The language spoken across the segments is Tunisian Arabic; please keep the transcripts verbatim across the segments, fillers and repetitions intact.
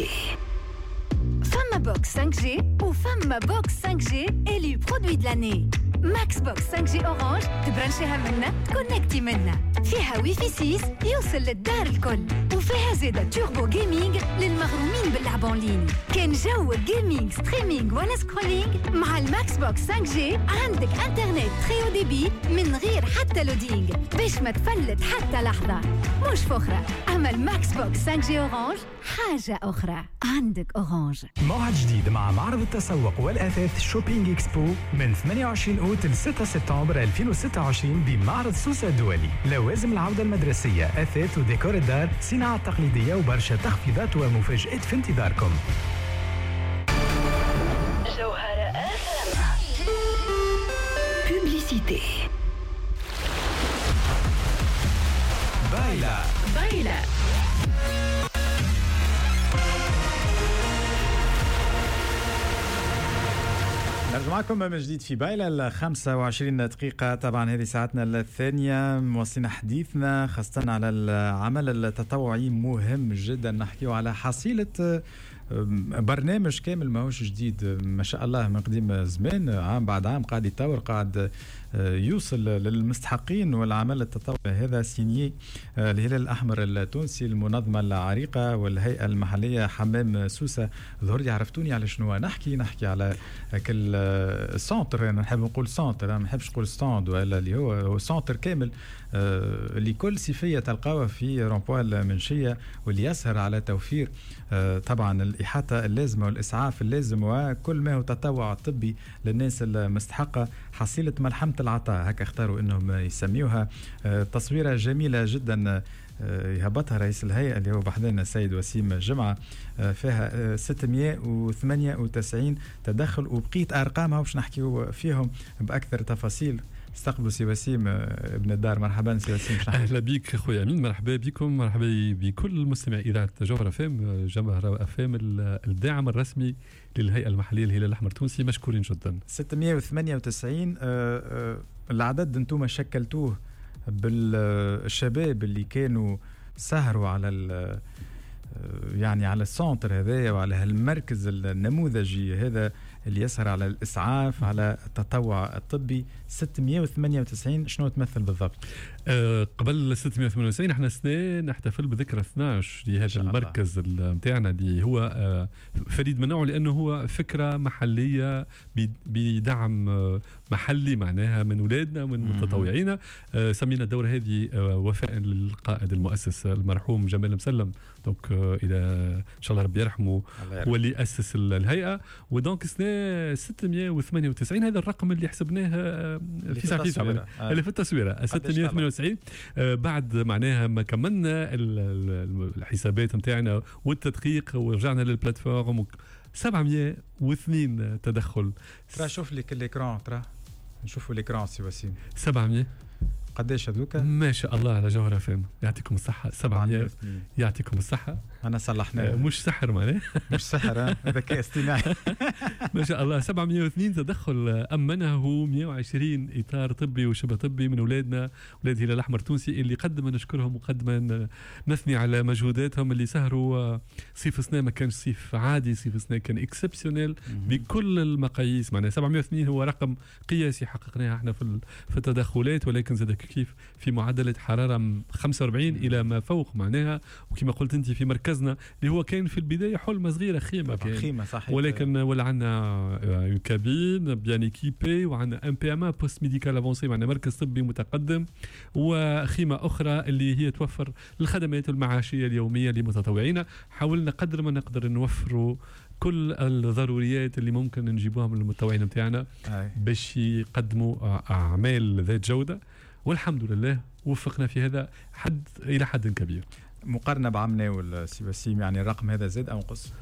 Publicité. فما box cinq G وفما box cinq G élue produit de l'année. Max Box cinq G Orange تبرنشيها منا تكونكتي منا، فيها ويفي ستة يوصل للدار الكل، وفيها زيادة turbo gaming للمغرومين باللعب en ligne. كان جو gaming streaming ولا scrolling مع ال Max Box cinq G عندك انترنت très haut débit من غير حتى loading باش ما تفلت حتى لحظة. مش فخرة، أما ال Max Box cinq G Orange حاجة أخرى. عندك Orange. موعد جديد مع معرض التسوق والأثاث Shopping Expo من ثمانية وعشرين أوت ل ستة سبتمبر ألفين وستة وعشرين بمعرض سوسة الدولي. لوازم العودة المدرسية، أثاث وديكور الدار، صناعة تقليدية وبرشا تخفيضات ومفاجآت في انتظاركم. جوهرة أف أم. Publicité. بايلا بايلا. نرجع معكم من جديد في بايلة ال خمسة وعشرين دقيقة. طبعا هذه ساعتنا الثانية، مواصلين حديثنا خاصة على العمل التطوعي، مهم جدا نحكيه على حصيلة برنامج كامل ماهوش جديد ما شاء الله من قديم زمان، عام بعد عام قاعد يتطور، قاعد يوصل للمستحقين. والعمل التطوعي هذا signé الهلال الأحمر التونسي، المنظمة العريقة والهيئة المحلية حمام سوسة. ظهر لي عرفتوني على شنو نحكي، نحكي على كل centre، أنا نحب نقول centre، أنا ما نحبش نقول stand ولا اللي هو centre كامل لكل صيفية تلقاوه في rond-point المنشية، واللي يسهر على توفير طبعا الإحاطة اللازمة والإسعاف اللازم وكل ما هو تطوع طبي للناس المستحقة. حصيلة ملحمة العطاء هكا اختاروا أنهم يسميوها. تصويرة جميلة جدا يهبطها رئيس الهيئة اللي هو بحذانا السيد وسيم جمعة، فيها ستمائة وثمانية وتسعين تدخل وبقيت أرقامها باش نحكيو فيهم بأكثر تفاصيل. استقبلوا سي وسيم ابن الدار. مرحبا سي وسيم. اهلا بك خويا امين، مرحبا بكم، مرحبا بكل مستمعي اذاعة جوهرة اف ام. جوهرة اف ام الداعم الرسمي للهيئة المحلية للهلال الاحمر التونسي، مشكورين جدا. ستمائة وثمانية وتسعين العدد انتم شكلتوه بالشباب اللي كانوا سهروا على يعني على ال centre هذايا وعلى هالمركز النموذجي هذا اللي يسهر على الإسعاف، على التطوع الطبي. ستمائة وثمانية وتسعين شنو تمثل بالضبط؟ أه قبل ستمائة وثمانية وتسعين احنا سنة نحتفل بذكرى اثناعش لهذا المركز نتاعنا اللي هو آه فريد من نوعه، لأنه هو فكرة محلية بدعم محلي معناها من أولادنا ومن متطوعينا. آه سمينا الدورة هذه آه وفاء للقائد المؤسس المرحوم جمال مسلم، donc آه إلى إن شاء الله ربي يرحمه، هو اللي أسس الهيئة. و donc سنة ستمائة وثمانية وتسعين هذا الرقم اللي حسبناه في ساعة في ساعة اللي في التصويرة ستمائة وثمانية وتسعين. بعد معناها ما كملنا الحسابات نتاعنا والتدقيق ورجعنا لل plateforme سبعمائة واثنين تدخل. ترى شوف لك l'écran، ترى نشوفوا l'écran سي وسيم. سبعمائة قداش هذوك؟ ما شاء الله على جوهرة فام، يعطيكم الصحة. سبعمائة يعطيكم الصحة. أنا صلحناه، مش سحر معناه، مش سحر، ذكاء اصطناعي. ما شاء الله سبعمائة واثنين تدخل أمنه مائة وعشرين إطار طبي وشبه طبي من أولادنا، أولاد الهلال الأحمر التونسي اللي قدما نشكرهم وقدما نثني على مجهوداتهم اللي سهروا. صيف سنة ما كانش صيف عادي، صيف سنة كان exceptionnel بكل المقاييس. معناه سبعمائة واثنين هو رقم قياسي حققناه احنا في في التدخلات، ولكن زاد كيف في معدلة حرارة خمسة وأربعين إلى ما فوق معناها. وكما قلت أنت في مركزنا اللي هو كان في البداية حلمة صغيرة، خيمة كان. خيمة صحيح، ولكن ولا عندنا cabine bien équipée، وعندنا un PMA poste médical avancé، معنا مركز طبي متقدم، وخيمة أخرى اللي هي توفر الخدمات المعاشية اليومية لمتطوعينا. حاولنا قدر ما نقدر نوفروا كل الضروريات اللي ممكن نجيبوها من المتطوعين نتاعنا باش يقدموا أعمال ذات جودة، والحمد لله وفقنا في هذا حد إلى حد كبير. مقارنة بعام ناول سي وسيم، يعني الرقم هذا زاد أو نقص؟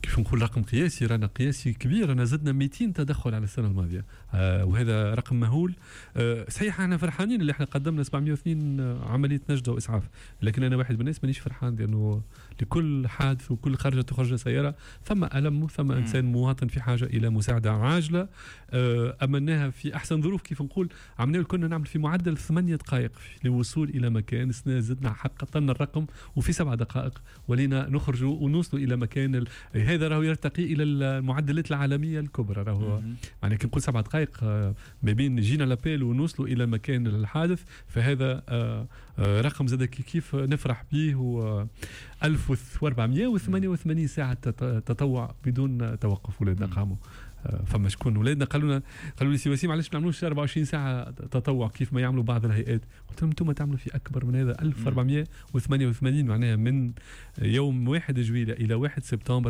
كيف نقول رقم قياسي، رانا قياسي كبير، رانا زدنا ميتين تدخل على السنة الماضيه، آه وهذا رقم مهول. آه صحيح احنا فرحانين اللي احنا قدمنا سبعمية واثنين عملية نجده واسعاف، لكن انا واحد من الناس مانيش فرحان، لانه لكل حادث وكل خرجه تخرج سيارة ثم الم، ثم انسان مواطن في حاجة الى مساعدة عاجله. آه امناها في احسن ظروف. كيف نقول عملنا كنا نعمل في معدل ثمانية دقائق للوصول الى مكان، السنة زدنا حققنا الرقم وفي سبع دقائق ولينا نخرجوا ونوصلوا الى مكان ال... هذا راهو يرتقي الى المعدلات العالمية الكبرى. راهو معناها كي نقول سبع دقائق آه، ما بين جينا l'appel ونوصلوا الى مكان الحادث، فهذا آه، آه، رقم زاد كيف نفرح به. و ألف وأربعمية وثمانية وثمانين ساعة تطوع بدون توقف ولادنا قاموا. فما شكون ولادنا قالوا لنا، قالوا لي: سي وسيم، علاش ما نعملوش أربعة وعشرين ساعة تطوع كيف ما يعملوا بعض الهيئات؟ قلت لهم: انتم تعملوا في اكبر من هذا. ألف وأربعمية وثمانية وثمانين معناها من يوم واحد جويلية الى واحد سبتمبر.